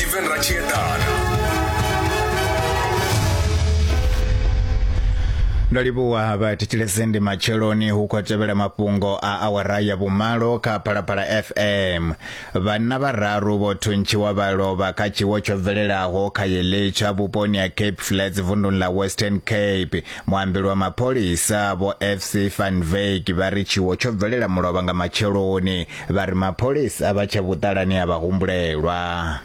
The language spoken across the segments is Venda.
Stephen Ratshiedana. Ndo livhuwa vhathetshelesi, ndi matsheloni hu khou tevhela mafhungo a awara ya vhumalo kha Phalaphala FM. Vhanna vhararu vho thuntshiwa vha lovha kha tshiwo tsho bvelelaho kha Yelitsha vhuponi ha Cape Flats vunduni ḽa Western Cape. Muambeli wa mapholisa Vho FC van Wyk vha ri tshiwo tsho bvelela mulovha nga matsheloni. Vha ri mapholisa vha tshe vhuṱalani ha vhahumbulelwa.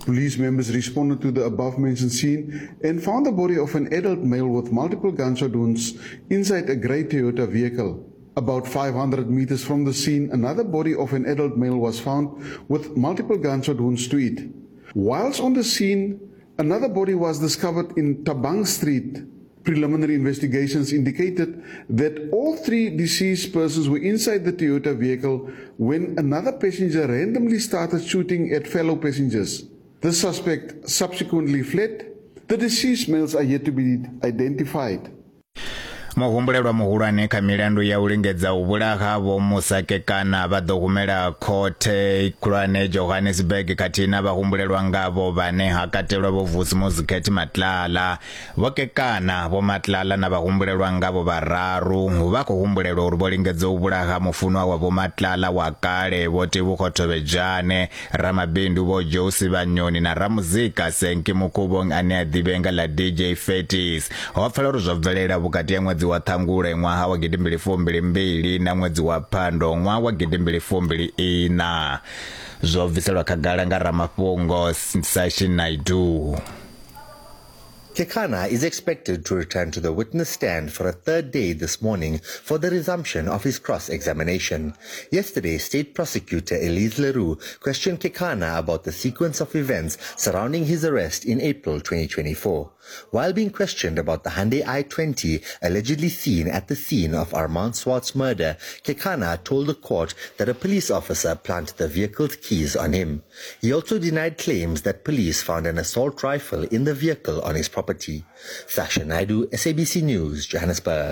Police members responded to the above-mentioned scene and found the body of an adult male with multiple gunshot wounds inside a grey Toyota vehicle. About 500 meters from the scene, another body of an adult male was found with multiple gunshot wounds to it. Whilst on the scene, another body was discovered in Tabang Street. Preliminary investigations indicated that all three deceased persons were inside the Toyota vehicle when another passenger randomly started shooting at fellow passengers. The suspect subsequently fled. The deceased males are yet to be identified. Muhumbulelwa muhulwane kha milandu ya u lingedza u vhulaha Vho Musa Kekana vha ḓo humela khothe khulwane Johannesburg khathihi na vhahumbulelwa ngavho vhane ha katelwa Vho Vusimuzi Cat Matlala. Vho Kekana, Vho Matlala na vhahumbulelwa ngavho vhararu vha khou humbulelwa uri vho lingedza u vhulaha mufunwa wa Vho Matlala wa kale Vho Tebogo Thobejane, ramabindu Vho Joe Sibanyoni na ramuzika Senki Mukhuvhong ane a ḓivhea nga ḽa DJ Fatis. Ho pfala uri zwo bvelela vhukati ha ṅwedzi wa Ṱhangule ṅwaha wa gidimbili fumbili mbili na ṅwedzi wa Phando ṅwaha wa gidimbili fumbili ina. Zwo bviselwa khagala nga ramafhungo Sashin Naidoo. Kekana is expected to return to the witness stand for a third day this morning for the resumption of his cross-examination. Yesterday, State Prosecutor Elise Leroux questioned Kekana about the sequence of events surrounding his arrest in April 2024. While being questioned about the Hyundai i20 allegedly seen at the scene of Armand Swart's murder, Kekana told the court that a police officer planted the vehicle's keys on him. He also denied claims that police found an assault rifle in the vehicle on his property. Sasha Naidu, SABC News, Johannesburg.